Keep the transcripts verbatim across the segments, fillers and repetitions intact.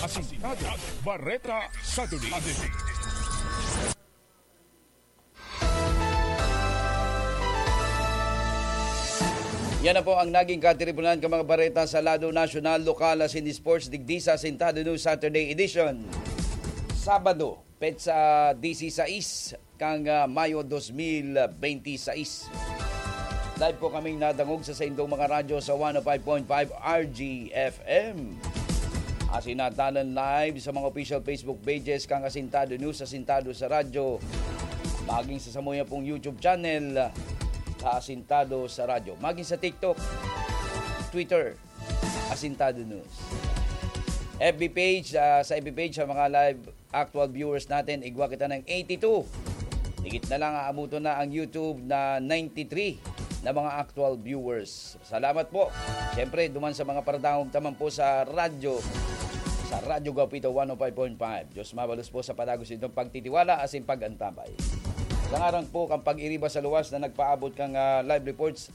Asintado, Bareta Saturday Edition. Yan na po ang naging katiripunan kan mga bareta sa lado nasyonal, lokal asin sports digdi sa Asintado News Saturday Edition. Sabado, petsa dieciséis kan, ah, Mayo dos mil benti sais. Live po kaming nadangog sa saindong mga radyo sa one oh five point five R G F M. Asin natanan live sa mga official Facebook pages kan Asintado News, Asintado sa Radyo, maging sa samuya pong YouTube channel, sa Asintado sa Radyo, maging sa TikTok, Twitter, Asintado News. F B page, ah, sa F B page, sa mga live actual viewers natin, igwa kita ng eighty-two. Higit na lang, aabuton na ang YouTube na ninety-three na mga actual viewers. Salamat po. Siyempre, duman sa mga paradangog taman po sa radyo, sa Radyo Gapito one oh five point five. Diyos mabalos po sa padagos itong pagtitiwala asin pag-antabay. Sa ngaran po kan pag-iriba sa luwas na nagpaabot kang, ah, live reports,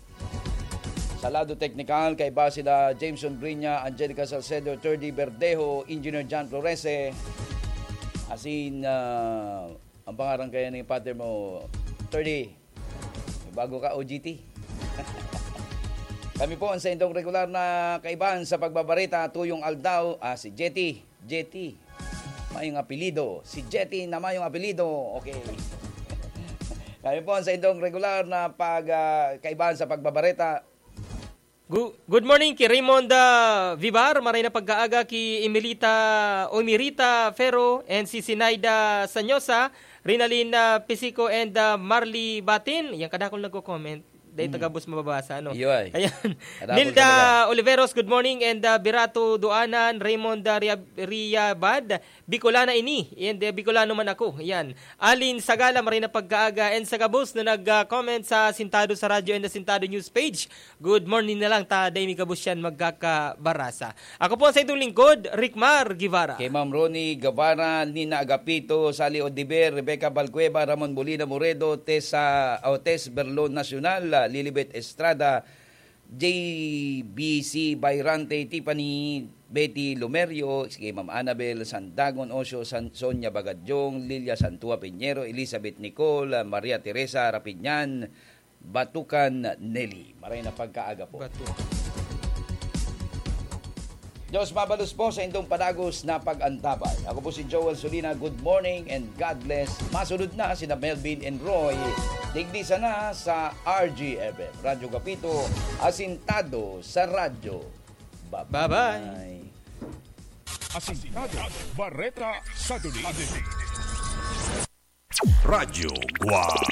sa lado teknikal, kaiba sila Jameson Brinya, Angelica Salcedo, Thirdy Verdejo, Engineer John Florese, asin, ah, ang pangaran kaya ni partner mo, Thirdy, may bago ka, O G T. Kami po ang saindong regular na kaibahan sa pagbabareta, tuyong aldaw, ah, si Jetty. Jetty, mayong apelido. Si Jetty na mayong apelido. Okay. Kami po ang saindong regular na pag, ah, kaibahan sa pagbabareta. Gu-, good morning ki Raymond, ah, Vivar, maray na pagkaaga ki Emilita, Omirita Ferro, and si Sinaida Sanyosa, Rinalin, ah, Pisico, and, ah, Marley Batin. Yan, kadakol nagko-comment. Dahil Mm. tagabos mababasa, ano? Iyo ay. Ayan. Kadakol Nilda talaga. Oliveros, good morning, and, ah, Birato Duanan, Raymond, ah, Ria-, Riabad, Bicolana ini, and, eh, Bicolano man ako. Yan. Alin Sagala, maray na pagkaaga, and sa gabos na nag, ah, comment sa Asintado sa Radyo and Asintado News page. Good morning na lang, ta, dai mi gabos yan magkakabarasa. Ako po ang saindong lingkod, Rickmar Guevara. Kay Ma'am Ronnie Guevara, Nina Agapito, Sally Odiver, Rebecca Balcueva, Ramon Molina Moredo, Tessa, o Tess Berlon Nacional, Lilibet Estrada, J B C Bayrante, Tiffany, Betty Lomerio, si Ma'am Annabel Sandagon Osio, San-, Sonia Bagadyong, Lilia Santua Piñero, Elizabeth Nicole, Maria Teresa Rapinyan, Batukan Nelly. Maray na pagkaaga po. Batukan. Diyos mabalos po sa indong padagos na pag-antabay. Ako po si Joel Solina. Good morning and God bless. Masunod na sina Melvin and Roy. Digdi sana sa R G F M, Radyo Gapito, Asintado sa Radyo. Bye-bye. Bye-bye. Asintado, Bareta Saturday. Radyo Guwang.